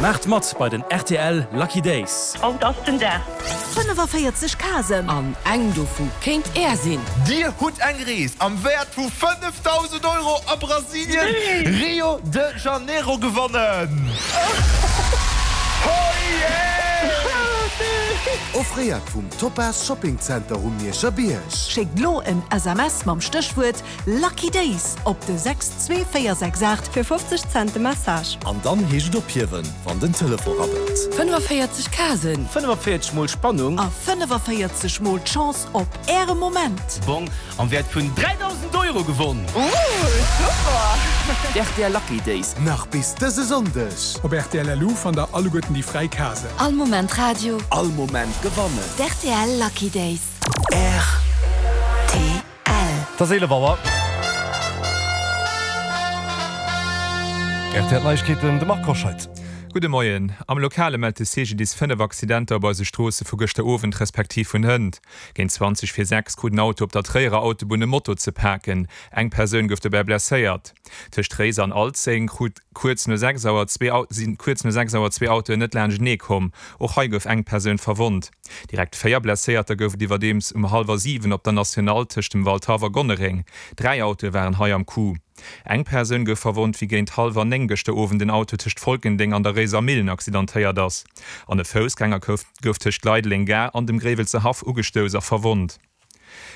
Maacht mat bei den rtl Lucky Days! Haut ass den Dag! 45 Casen. An eng dovu kéint Är sinn. Dir hutt eng Rees am Wäert vu 5.000 Euro a Brasilien, Rio de Janeiro gewonnen! Offréiert vum Topaz Shopping Center um Mierscher Bierg. Schéckt lo en SMS mam Stéchwuert Lucky Days op de 62468 fir 50 Cent de Message. An dann heescht et ophiewen, wann den Telefon rabbelt. 45 Casen. 45 mol Spannung. A 45 mol d'Chance op Äre Moment. Bong am Wäert vun 3.000 Euro gewonn! Ooh, super! Rtl Lucky Days. Nach bis dëse Sonndeg. Op rtl LU fannt der alleguerten déi fräi Casen. All Moment Radio. All Moment gewannen. D'RTL Lucky Days. Rtl. Et ass 11 Auer. Rtl Neiegkeeten, de Marc Hoscheid. Gudde Moien. Am Lokale mellt de CGDIS 5 Accidenter op eise Stroosse vu gëschter Owend respektiv vun hënt. Géint 20 vir 6 krut en Auto op der Tréierer Autobunn e Moto ze paken. Eng Persoun gouf dobäi blesséiert. Tëscht Réiser an Alzeng krut kuerz no 6 Auer zwee sinn kuerz no 6 Auer zwee Autoen net laanschtenee komm. Och hei gouf eng Persoun verwonnt. Direkt 4 Blesséierter gouf et iwwerdeems um hallwer 7 op der Nationale tëscht dem Waldhaff a Gonnereng. 3 Autoe waren hei am Coup. Eng Persoun gouf verwonnt, wéi géint hallwer 9 gëschter Owend en Auto tëscht Folkendeng an der Réiser Millen accidentéiert ass. An e Foussgänger gouf tëscht Leideleng Gare an dem Gréiwelser Haff ugestouss a verwonnt.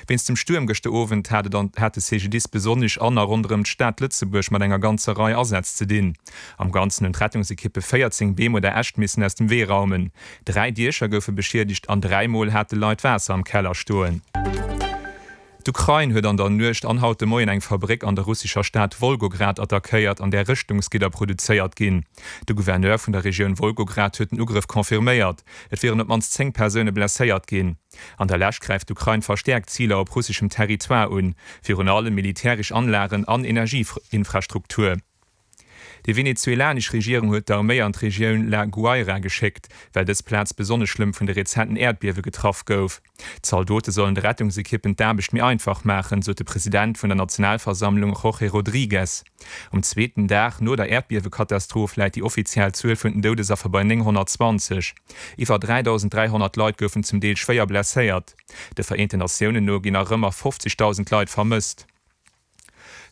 Wéinst dem Stuerm gëschter Owend hat et an hat de CGDIS besonnesch an a ronderëm d'Stad Lëtzebuerg mat enger ganzer Rei Asätz ze dinn. Am Ganzen hunn d'Rettungsekippe 14 Beem oder Äscht missen aus dem Wee raumen. 3 Diecher goufe beschiedegt an 3 Mol hate Leit Waasser am Keller stoen. D'Ukrain huet an der Nuecht an haut de Moien eng Fabréck an der russescher Stad Wolgograd attackéiert, an där Rëschtungsgidder produzéiert ginn. De Gouverneur vun der Regioun Wolgograd huet den Ugrëff confirméiert. Et wieren op d'mannst 10 Persoune blesséiert ginn. An der Lescht gräift d'Ukrain verstäerkt Ziler op russeschem Territoire un, virun allem militäresch Anlagen an Energieinfrastruktur. Déi venezuelanesch Regierung huet d'Arméi an d'Regioun La Guaira geschéckt, well dës Plaz besonnesch schlëmm vun de rezenten Äerdbiewe getraff gouf. D'Zaldote sollen de Rettungsekippen d'Aarbecht méi einfach maachen, sot de President vun der Nationalversammlung Jorge Rodriguez. Um zweeten Dag no der Äerdbiewekatastroph läit déi offiziell Zuel vun den Doudesaffer bei 920. Iwwer 3.300 Leit goufen zum Deel schwéier blesséiert. De Vereenten Natiounen no ginn nach ëmmer 50.000 Leit vermësst.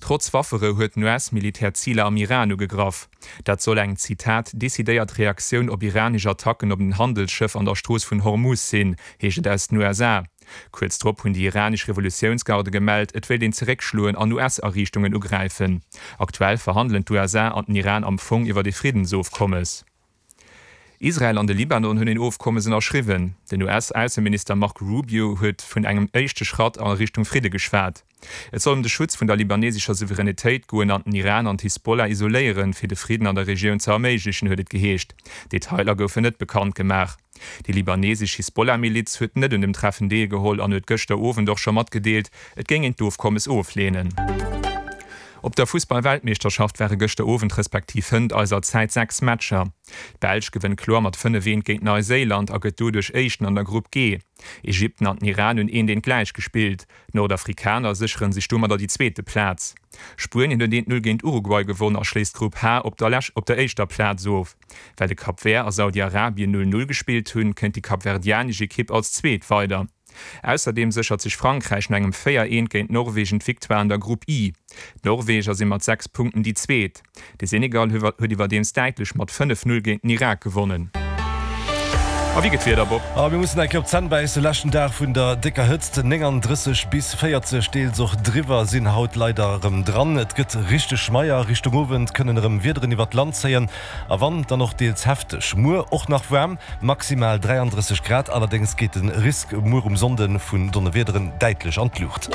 Trotz Wafferou huet den US-Militär Ziler am Iran ugegraff. Dat soll eng, Zitat, decidéiert Reaktioun op iranesch Attacken op en Handelsschëff an der Strooss vun Hormuz sinn, heescht et aus den USA. Kuerz drop hunn déi iranesch Revolutiounsgarde gemellt, et wéilt een zeréckschloen an US-Ariichtungen ugräifen. Aktuell verhandelen d'USA an den Iran am Fong iwwer ee Friddensofkommes. Israel an de Libanon hunn een Ofkommes ënnerschriwwen. Den US-Ausseminister Marco Rubio huet vun engem éischte Schratt a Richtung Fridde geschwat. Et soll ëm de Schutz vun der libanesescher Souveränitéit goen an den Iran an d'Hisbollah isoléieren, fir de Fridden an der Regioun ze erméiglechen, huet et geheescht. Detailer goufen net bekannt gemaach. Déi libanesesch Hisbollah-Miliz huet net un dem Treffen deelgeholl an huet gëschter Owend och scho matgedeelt, et géing een d'Ofkommes ofleenen. Op der Fussball-Weltmeeschterschaft ware gëschter Owend respektiv hënt eiser Zäit 6 Matcher. D'Belsch gewënnt kloer mat 5, 1 géint Neiséiland a gëtt doduerch Éischten an der Grupp G. Ägypten an den Iran hunn eent eent gläich gespillt. D'Nordafrikaner sécheren sech domadder déi zweete Plaz. Spuenien huet eent 0 géint Uruguay gewonn a schléisst d'Grupp H op der éischter Plaz of. Well de Cap Vert a Saudi-Arabien 0, 0 gespillt hunn, kënnt déi kapverdianesch Ekipp als Zweet weider. Ausserdeem séchert sech Frankräich no engem 4, 1 géint Norwegen d'Victoire an der Grupp I. D'Norweger si mat 6 Punkten déi Zweet. De Senegal huet iwwerdeems däitlech mat 5, 0 géint den Irak gewonnen. A wéi gëtt d'Wieder, Bob? A mir mussen eng Kéier op d'Zänn bäissen. Leschten Dag vun der décker Hëtzt, 39 bis 40, deels och driwwer, sinn haut leider erëm dran. Et gëtt richteg schmeier. Richtung Owend kënnen erëm Wiederen iwwert d'Land zéien a wann, dann och deels hefteg. Muer och nach waarm, maximal 33 Grad, allerdéngs geet de Risk muer um Sonnde vun Donnerwiederen däitlech an d'Luucht.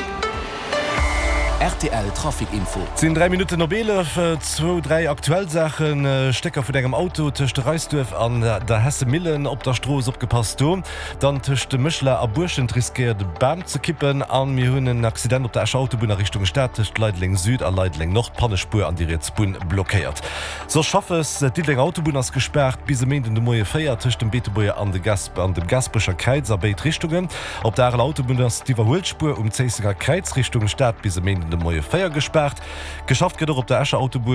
Rtl Trafic Info. Et sinn 3 Minutten op 11. Zwou, dräi aktuell Saachen, Stécker vun engem Auto tëscht Reisduerf an der Hessemillen op der Strooss, opgepasst do. Dann tëscht Méchela a Buerschent riskéiert e Bam ze kippen. A mir hunn en Accident op der Escher Autobunn a Richtung Stad tëscht Leideleng Süd a Leideleng Nord, Pannespuer an déi riets Bunn blockéiert. Soss Schaffes, D'Diddelénger Autobunn ass gespaart bis e Méinden de Moie 4 tëscht dem Beetebuerger an dem Gaasperecher Kräiz a béid Richtungen. Op der Areler Autobunn ass d'Iwwerhuelspuer um Zéissenger Kräiz Richtung Stad bis e Méinden de Moie 4 gespaart. Geschafft gëtt och op der Escher Autobunn.